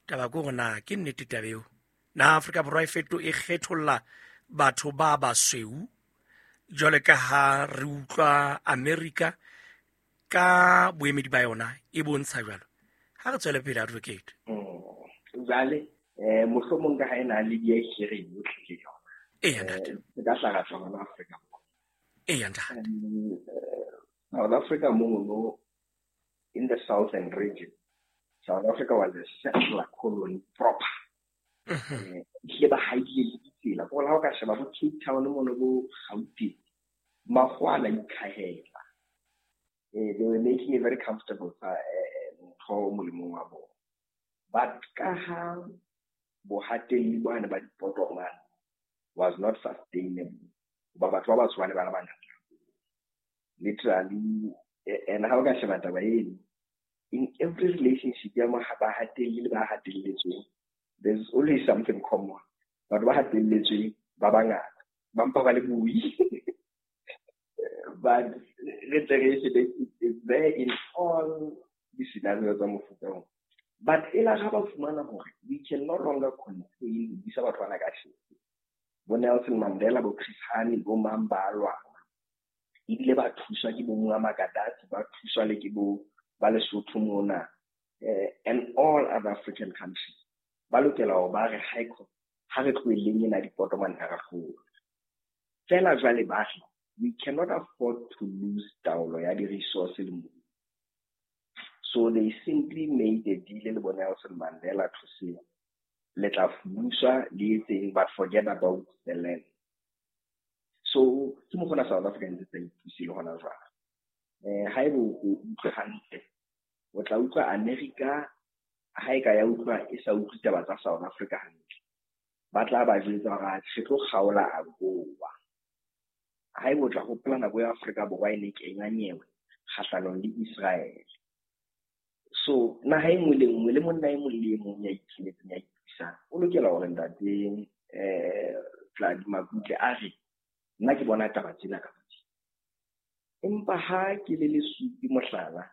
Taba ke hore na ke nnete taba eo? Na Afrika Borwa e feto e kgetholla batho ba basweu jwale ka ha re utlwa America ka boemedi ba yona e bontsha jwalo? Ha re tswele pele, advocate. Jwale mohlomong ka ha e na le di-hearing yotlhe le yona. Eya, ntate. Se ka hlaha tswa hona Afrika Borwa. Eya, ntate. South Africa mono in the southern region, South Africa was a settler colony proper. Ehlile ba haile le ditsela. Ko ha o ka sheba bo Cape Town mono bo Gauteng, makgowa a na ikhahela. They were making a very comfortable ntho molemong wa bona. But ka ha bohatelli bane ba dipotomane was not sustainable, hoba batho ba batsho ba ne ba le bangata. Literally, and ha o ka sheba taba eno, in every relationship ya bahatelli le ba hatelletsweng, there's always something common. Batho ba hatelletsweng ba bangata, ba mpa ba le boi. But re tle re shebe, it's there in all the scenarios tsa mofuta oo. But e la ga ba fumana hore we can no longer contain ho busa batho bana ka tjhelete. Bo Nelson Mandela, bo Chris Hani, bo mang ba lwana. Ebile ba thuswa ke bo Muammar Gaddafi, ba thuswa le ke bo ba Lesotho mona, and all other African countries. Ba lokela hore ba re high court, ha re tlohelleng ena dipotomane ha re hlola. Feela jwale ba re, we cannot afford to lose taolo ya di-resource le mobu. So they simply made a deal le bo Nelson Mandela to say, le tla fuduswa le etseng, but forget about the land. So ke mo gona South Africa ntse tsa ipuse le hona jwale. Haeba o utlwe hantle, o tla utlwa America ha e ka ya utlwa e sa utlwe taba tsa South Africa hantle. Ba tla ba jwetsa hore re tlo kgaola AGOA. Haeba o tla hopola nako ya Afrika Borwa e ne kenya nyewe kgahlanong le Israel. So naha e nngwe le nngwe le monna e mong le e mong ya ikemetseng ya ipusang o lokela hore ntate Tladi Makutle a re nna ke bona taba tsena ka tsena. Empa ha ke le lesupi mohlala,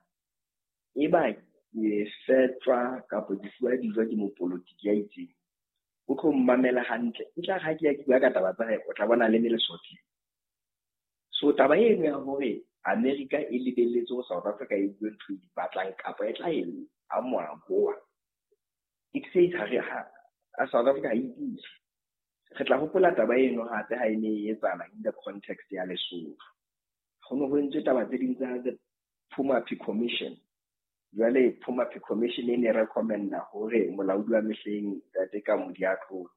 e ba ke fetwa kapa ke fuwa dijo ke mopolotiki ya itseng, o tlo mmamela hantle. E tla re ha ke ya ke bua ka taba tsa hae, o tla bona le le lesotho. So taba eno ya hore America e lebelletse ho South Africa e bue ntho e di batlang kapa e tla e amoha AGOA, it says ha re ha South Africa ha e ipuse. Re tla hopola taba eno hape ha e ne e etsahala in the context ya Lesotho. Ho ne ho entswe taba tse ding tsa the Phumaphi Commission. Jwale Phumaphi Commission e ne recommenda hore molaodi wa mehleng Ntate Kamodi a tlohe.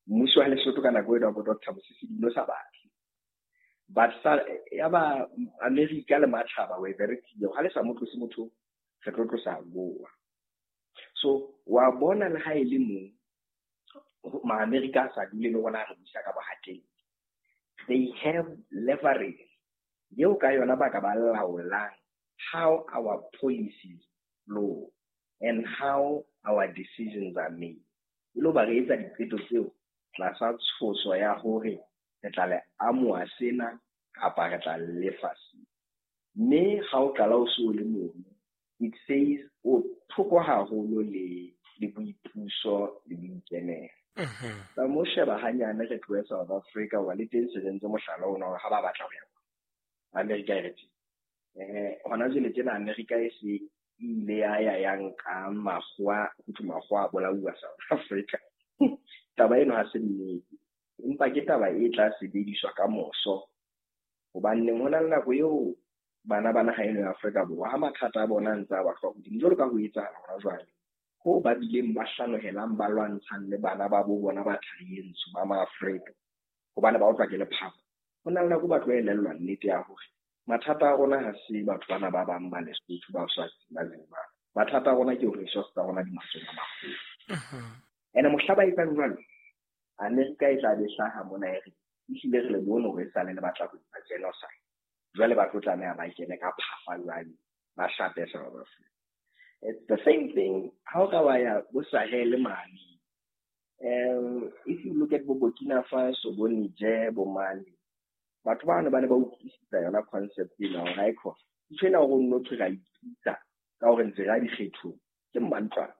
Mmuso wa Lesotho ka nako eno wa bo Dr. Mosisi di no sa batle. But ya ba America le matjhaba were very clear, ha le sa mo tlose motho, re tlo tlosa AGOA. So wa bona le ha e le mong ma-America a sa dule le rona re busa ka bohatelli. They have leverage eo ka yona ba ka ba laolang how our policies flow and how our decisions are made. E lo ba re etsa diqeto tseo tlasa tshoso ya hore re tla le amoha sena kapa re tla lefa sena. Mme ha o qala o so le mono, it says o thoko haholo le boipuso le boikemelo. Tsa mo sheba hanyane re tlohe South Africa wa le teng se rentse mohlala ona hore ha ba batla ho ya America e re tjena. Hona jwale tjena America e se ile ya ya ya nka makgowa, ho thwe makgowa a bolauwa South Africa. Taba eno ha se nnete, empa ke taba e tla sebediswa ka moso. Hobane ho na le nako eo bana ba naha eno ya Afrika Borwa ha mathata a bona a ntse a ba hlwa hodimo jwalo ka ho etsahala hona jwale, ho ba bileng ba hlanohelang ba lwantshang le bana ba bo bona ba thari e ntsho ba maAfrika hobane ba utlwa ke lephako. Ho na le nako ba tlo elellwa nnete ya hore mathata a rona ha se batho bana ba bang ba Lesotho, ba Swazi, ba Zimbabwe. Mathata a rona ke hore resource tsa rona di mahlong a maholo. Ene mohla ba etsang jwalo, Amerika e tla be hlaha mona e re, ehlile re le bone hore e sale le batla ho etsa genocide. Jwale ba tlo tlameha ba kene ka phafa jwale, ba shape South Africa. It's the same thing ha o ka wa ya bo Sahel mane. If you look at bo Burkina Faso, bo Niger, bo Mali, batho bano ba ne ba utlwisisa yona concept ena hore haekho ntho ena hore o nno thwe ra ipitsa ka hore ntse re ya dikgethong ke mmantlwana.